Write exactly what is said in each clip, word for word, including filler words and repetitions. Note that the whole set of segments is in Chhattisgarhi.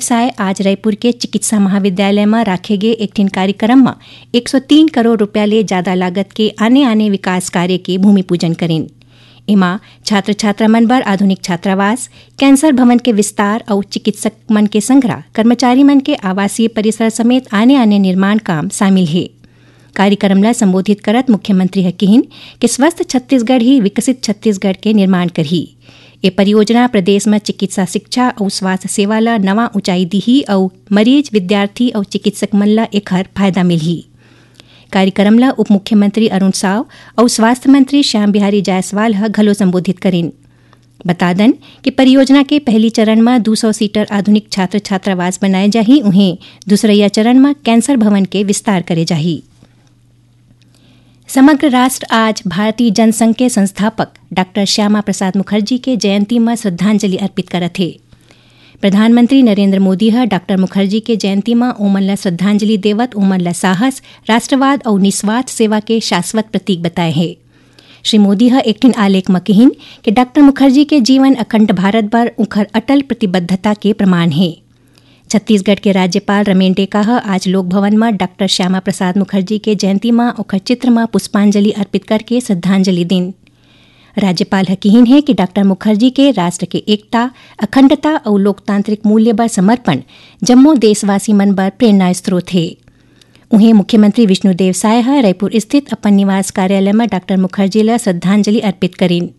साय आज रायपुर के चिकित्सा महाविद्यालय म राखे गे एक ठिन कार्यक्रम म एक सौ तीन करोड़ रुपया ले जादा लागत के आने-आने विकास कार्य के भूमि पूजन करिन। एमा छात्र-छात्रा मन बर आधुनिक छात्रावास, कैंसर भवन के विस्तार अउ चिकित्सक मन के संघरा कर्मचारी मन के आवासीय परिसर समेत आने-आने निर्माण काम शामिल हे। कार्यक्रम ला संबोधित करत मुख्यमंत्री ह किहिन कि स्वस्थ छत्तीसगढ़ ही विकसित छत्तीसगढ़ के निर्माण करही। ए परियोजना प्रदेश म चिकित्सा शिक्षा अउ स्वास्थ्य सेवा ला नवा ऊंचाई दिही अउ मरीज, विद्यार्थी अउ चिकित्सक मन ला एखर फायदा मिलही। कार्यक्रम ला उप मुख्यमंत्री अरुण साव अउ स्वास्थ्य मंत्री श्याम बिहारी जायसवाल ह घलो संबोधित करिन। बता दन कि परियोजना के पहली चरण म दू सौ सीटर आधुनिक छात्र छात्रावास बनाए जाही, उहें दूसरइया चरण म कैंसर भवन के विस्तार करे जाही। समग्र राष्ट्र आज भारतीय जनसंघ के संस्थापक डॉक्टर श्यामा प्रसाद मुखर्जी के जयंती म श्रद्धांजलि अर्पित करत हे। प्रधानमंत्री नरेंद्र मोदी ह डॉक्टर मुखर्जी के जयंती म ओमन ला श्रद्धांजलि देवत ओमन ला साहस, राष्ट्रवाद अउ निस्वार्थ सेवा के शाश्वत प्रतीक बताए हे। श्री मोदी ह एक ठिन आलेख म किहिन कि डॉक्टर मुखर्जी के जीवन अखंड भारत बर उंखर अटल प्रतिबद्धता के प्रमाण हे। छत्तीसगढ़ के राज्यपाल रमेन डेका ह आज लोक भवन म डॉक्टर श्यामा प्रसाद मुखर्जी के जयंती म ओखर चित्र म पुष्पांजलि अर्पित करके श्रद्धांजलि दीन। राज्यपाल ह किहिन हे कि डॉक्टर मुखर्जी के राष्ट्र के एकता, अखंडता अउ लोकतांत्रिक मूल्य बर समर्पण जम्मो देशवासी मन बर प्रेरणा स्रोत हे। उहें मुख्यमंत्री विष्णुदेव साय ह रायपुर स्थित अपन निवास कार्यालय म डॉक्टर मुखर्जी ल श्रद्धांजलि अर्पित करिन।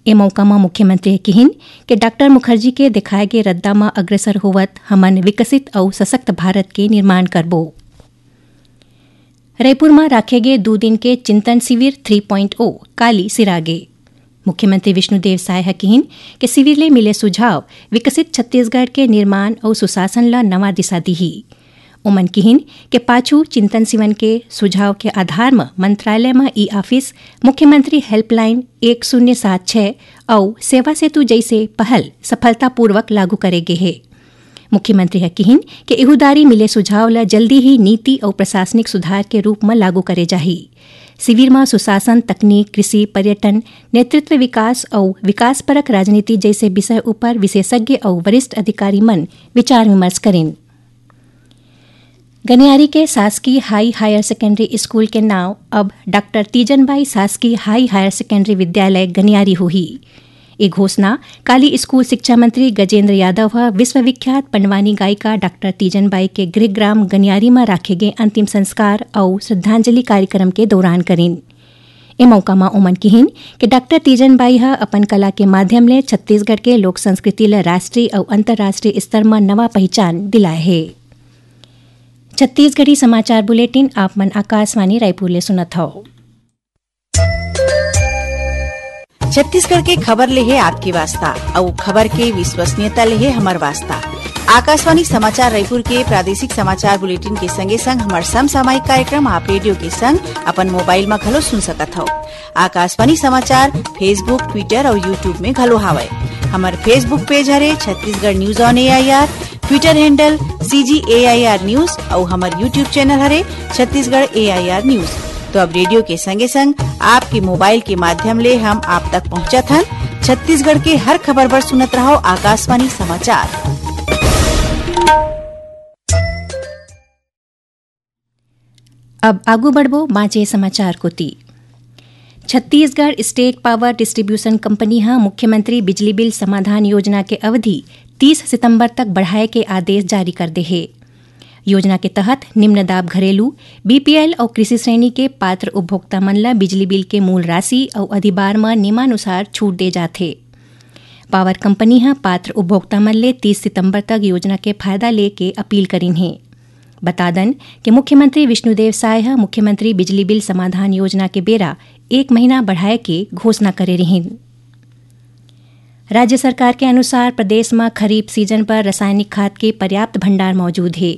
ए मौका म मुख्यमंत्री ह किहिन कि डॉक्टर मुखर्जी के दिखाए गे रद्दा म अग्रसर होवत हमन विकसित अउ सशक्त भारत के निर्माण करबो। रायपुर म राखे गे दू दिन के चिंतन शिविर थ्री पॉइंट ओ काली सिरागे। मुख्यमंत्री विष्णुदेव साय ह किहिन कि शिविर ले मिले सुझाव विकसित छत्तीसगढ़ के निर्माण अउ सुशासन ल नवा दिशा दिही। ओमन किहिन के पाछू चिंतन शिविर के सुझाव के आधार म मंत्रालय म ई ऑफिस, मुख्यमंत्री हेल्पलाइन एक शून्य सात छह अउ सेवा सेतु जइसे पहल सफलतापूर्वक लागू करे गे हे। मुख्यमंत्री ह किहिन के इहुदारी मिले सुझाव ल जल्दी ही नीति अउ प्रशासनिक सुधार के रूप म लागू करे जाही। शिविर म सुशासन, तकनीक, कृषि, पर्यटन, नेतृत्व विकास अउ विकासपरक राजनीति जइसे विषय उपर विशेषज्ञ अउ वरिष्ठ अधिकारी मन विचार विमर्श करिन। गनियारी के शासकीय हाई हायर सेकेंडरी स्कूल के नाव अब डॉक्टर तीजन बाई शासकीय हाई हायर सेकेंडरी विद्यालय गनियारी होही। ए घोषणा काली स्कूल शिक्षा मंत्री गजेंद्र यादव ह विश्वविख्यात पंडवानी गायिका डॉक्टर तीजन बाई के गृहग्राम गनियारी म राखे गे अंतिम संस्कार अउ श्रद्धांजलि कार्यक्रम के दौरान करिन। ए मौका म ओमन किहिन कि डॉक्टर तीजन बाई ह अपन कला के माध्यम ले छत्तीसगढ़ के लोक संस्कृति ल राष्ट्रीय अउ अंतर्राष्ट्रीय स्तर म नवा पहिचान दिलाए हे। छत्तीसगढ़ी समाचार बुलेटिन आप मन आकाशवाणी रायपुर ले सुनत हव। छत्तीसगढ़ के खबर ले हे आपके वास्ता, अउ खबर के विश्वसनीयता ले हे हमर वास्ता। आकाशवाणी समाचार रायपुर के प्रादेशिक समाचार बुलेटिन के संगे संग हमर समसामयिक कार्यक्रम आप रेडियो के संग अपन मोबाइल म घलो सुन सकत हव। आकाशवाणी समाचार Facebook, Twitter अउ YouTube में घलो हावय। हमर Facebook पेज हरे Chhattisgarh news on AIR, Twitter handle CG AIR news अउ हमर YouTube चैनल हरे छत्तीसगढ़ एआईआर न्यूज। तो अब रेडियो के संगे संग आपके मोबाइल के माध्यम ले हम आप तक पहुंचत हन। छत्तीसगढ़ के हर खबर बर सुनत रहव आकाशवाणी समाचार। अब आगू बढ़बो बांचे समाचार कोति। Chhattisgarh state power distribution company ह मुख्यमंत्री बिजली बिल समाधान योजना के अवधि तीस सितंबर तक बढ़ाए के आदेश जारी कर दे हे। योजना के तहत निम्न दाब घरेलू, बीपीएल अउ कृषि श्रेणी के पात्र उपभोक्ता मन ल बिजली बिल के मूल राशि अउ अधिभार म नियमानुसार छूट दे जाथे। पावर कंपनी ह पात्र उपभोक्ता मन ले तीस सितंबर तक योजना के फायदा ले के अपील करिन हे। बता दन कि मुख्यमंत्री विष्णुदेव साय ह मुख्यमंत्री बिजली बिल समाधान योजना के बेरा एक महीना बढ़ाए के घोषणा करे रिहिन। राज्य सरकार के अनुसार प्रदेश म खरीफ सीजन बर रासायनिक खाद के पर्याप्त भंडार मौजूद हे।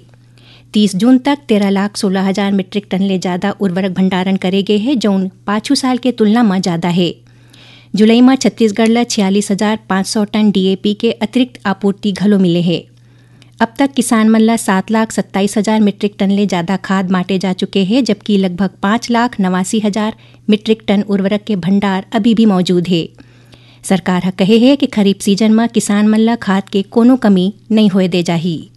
तीस जून तक तेरह लाख सोलह हजार मीट्रिक टन ले जादा उर्वरक भंडारण करे गे हे, जउन पाछू साल के तुलना म जादा हे। जुलाई म छत्तीसगढ़ ल छियालीस हजार पाँच सौ टन डीएपी के अतिरिक्त आपूर्ति घलो मिले हे। अब तक किसान मन ल सात लाख सत्ताईस हजार मीट्रिक टन ले जादा खाद बांटे जा चुके हे, जबकि लगभग पाँच लाख नवासी हजार मीट्रिक टन उर्वरक के भंडार अभी भी मौजूद हे। सरकार ह कहे हे कि खरीफ सीजन म किसान मन ल खाद के कोनो कमी नइ होए दे जाही।